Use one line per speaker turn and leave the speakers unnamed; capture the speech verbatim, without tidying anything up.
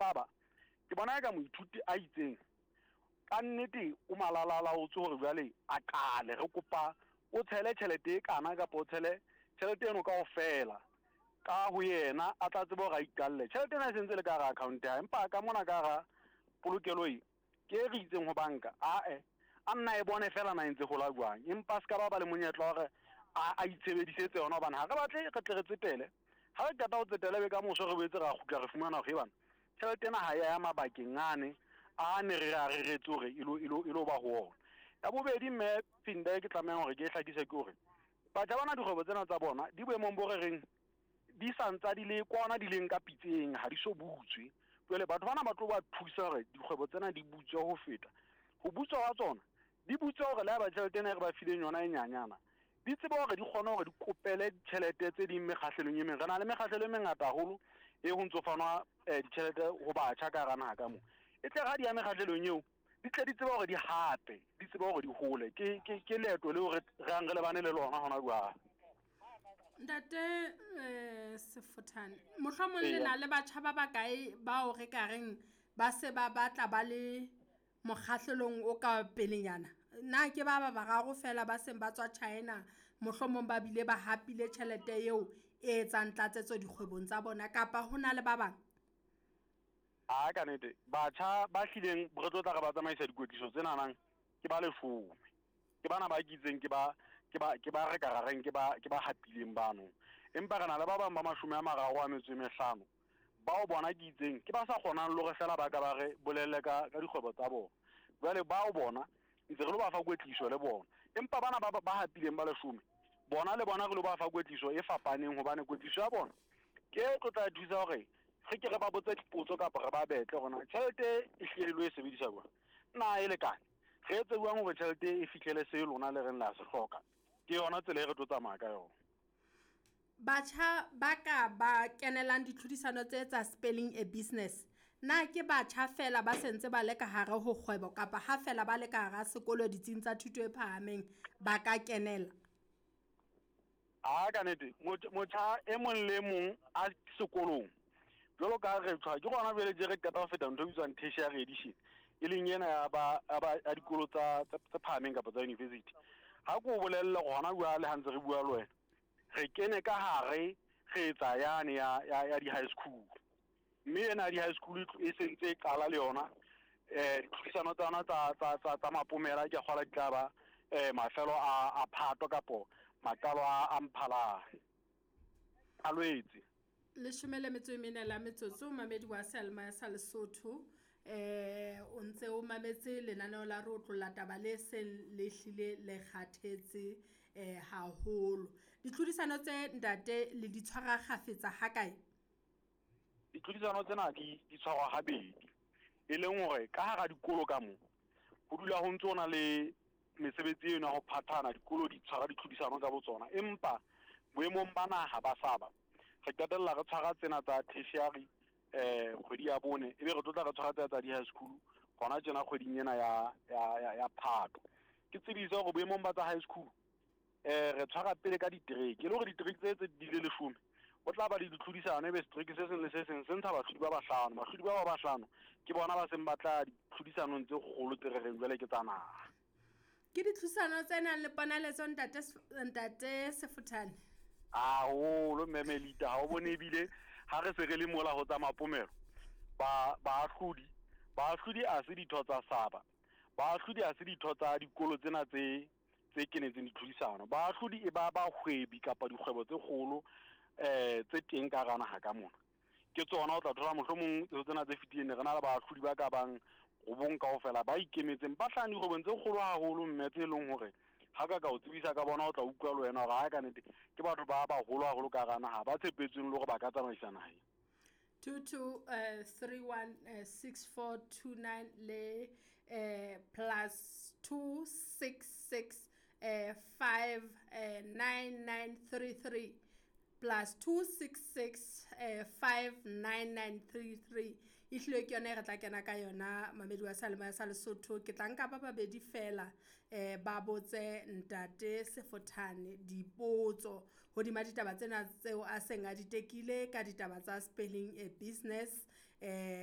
saba, ke bona eka moithuti a itseng ka nnete o malalalaotswe hore jwale a qale. Re kopa o tshele tjhelete e kana kapa o tshele tjhelete eno kaofela ka ho yena, a tla tsebe hore a iqalle. Tjhelete ena e sentse le ka hara account ya hae, empa ka mona ka hara polokelo e ke e re itseng ho banka, ae a nna e bone fela na e ntse hola jwang, empa se ka ba ba le monyetla wa hore a a itshebedisetse yona, hobane ha re batle re tle re tsetele. Ha re qeta ho tsetela, ebe ka moso re boetse ra kgutla re fumana hore bana tjhelete ena ha ya ya mabakeng ane a ne re a reretse hore e lo e lo e lo ba ho ona. Ya bobedi, mme Phinda, e ke tlamehang hore ke e hlakise ke hore batjha bana dikgwebo tsena tsa bona di boemong bo re reng di santsa di le kwana, di leng ka pitseng, ha di so butswe. Jwale batho bana ba tlo ba thusa hore dikgwebo tsena di butswe ho feta ho butswa wa tsona, di butswe hore le ha ba tjhelete ena e re ba fileng yona e nyanyana, di tsebe hore di kgone hore di kopele ditjhelete tse ding mekgahlelong e meng. Re na le mekgahlelo e mengata haholo e ho ntso fanwa um ditjhelete ho batjha ka hara naha ka mo. E tle ha di ya mekgahlelong eo, di tle di tsebe hore di hape, di tsebe hore di hole. Ke ke ke leeto leo re re yang re lebane le lona hona jwale.
Ntate eh Sefothane, mohlomong le na le batjha ba bakae bao re ka reng ba se ba batla ba le mokgahlelong o ka pelenyana? Na ke ba ba bararo fela ba seng ba tswa China, mohlomong ba bile ba hapile tjhelete eo e etsang tlatsetso dikgwebong tsa bona, kapa ho na le ba bang?
A ka nnete batjha ba hlileng re tlo tla re ba tsamaisa dikwetliso tsenanang ke ba leshome. Ke bana ba kitseng ke ba ke ba ke ba re ka ra reng ke ba ke ba hapileng bano. Empa re na le ba bang ba mashome a mararo a metso e mehlano bao bona ke itseng ke ba sa kgonang le hore fela ba ka ba re bolelle ka ka dikgwebo tsa bona. Jwale bao bona ntse re lo ba fa kwetliso le bona. Empa bana ba ba hapileng ba leshome bona le bona re lo ba fa kwetliso e fapaneng, hobane kwetliso ya bona ke e tlo tla thusa hore re ke re ba botse dipotso kapa re ba betle hore na tjhelete e hlile le lo e sebedisa jwang, na e lekane, re etse jwang hore tjhelete e fihlele se lona le reng la se hloka. Ke yona tsela e re tlo tsamaya ka yona.
Batjha ba ka ba kenelang ditlhodisano tse tsa Spelling a Business, na ke batjha fela ba sentse ba le ka hare ho kgwebo, kapa ha fela ba le ka hara sekolo ditsing tsa thuto e phahameng ba ka kenela?
A ka nnete motjha e mong le mong a sekolong, jwalo ka re tshwa ke gona jwale tje re qeta ho feta ntho e bitswang tertiary edition, e leng ena ya ba ya dikolo tsa tse phahameng kapa tsa university. Ha ke o bolelle hona jwale ha ntse re bua le wena, re kene ka hare re etsa yane ya ya ya di-high school, mme ena ya di-high school e sentse e qala le yona. um ditlhodisano tsa yona tsa tsa tsa tsa mapomela ke kgola di tla ba um mafelo a a Phato kapo maqalo a a Mphalane a Lwetse.
Leshome le metso e mene la metsotso, mamedi wa Selma sa Lesotho, eh o ntse o mametse lenaneo la re otlolla taba le seng le hlile le kgathetse eh haholo. Ditlhodisano tse ntate le di tshwara kgafetsa ha kae?
Ditlhodisano tsena di di tshwarwa habedi, e leng hore ka hara dikolo ka mo ho dula ho ntso na le mesebetsi eno ya ho phathana, dikolo di tshwara ditlhodisano ka botsona. Empa boemong ba naha ba saba re qetella re tshwara tsena tsa tertiary eh kgwedi ya bone, ebe re tlo tla re tshwara tsena tsa di-high school hona tjena kgweding ena ya ya ya, ya Phato. Ke tsebise hore boemong ba tsa high school eh re tshwara pele ka ditereke, e le hore ditereke tse tse di le leshome ho tla ba le ditlhodisano, ebe setereke se seng le se seng se ntsha bahlodi ba bahlano. Bahlodi ba ba bahlano ke bona ba seng ba tla ditlhodisanong tse kgolo tse re reng jwale ke tsa naha.
Ke ditlhodisano tse nang le ponaletso ntate ntate Sefothane?
Haholo mme Melita, ha o bone ebile ha re se re le mola ho tsa mapomelo, ba baahlodi baahlodi a se ditho tsa saba, baahlodi a se ditho tsa dikolo tsena tse tse kenetseng ditlhodisano. Baahlodi e ba bahwebi kapa dikgwebo tse kgolo eh tse teng ka hara naha ka mona. Ke tsona o tla thola mohlomong tsena tse fetileng re na le baahlodi ba ka bang robong kaofela ba ikemetseng, ba hlahang dikgwebong tse kgolo haholo, mme tse leng hore ha ka ka o tsebisa ka bona o tla utlwa le wena hore ha ka nnete ke batho ba baholo haholo ka hara naha ba tshepetsweng le hore ba ka tsamaisa naha.
two two uh, three one uh, six four two nine le uh, plus two six six uh, five uh, nine nine three three plus two six six uh, five nine nine three three. Ehlile ke yona e re tla kena ka yona mamedi wa Salema sa Lesotho. Ke tla nka ba babedi fela eh ba botse ntate Sefothane dipotso hodima ditaba tsena tseo a seng a di tekile ka ditaba tsa Spelling a Business. eh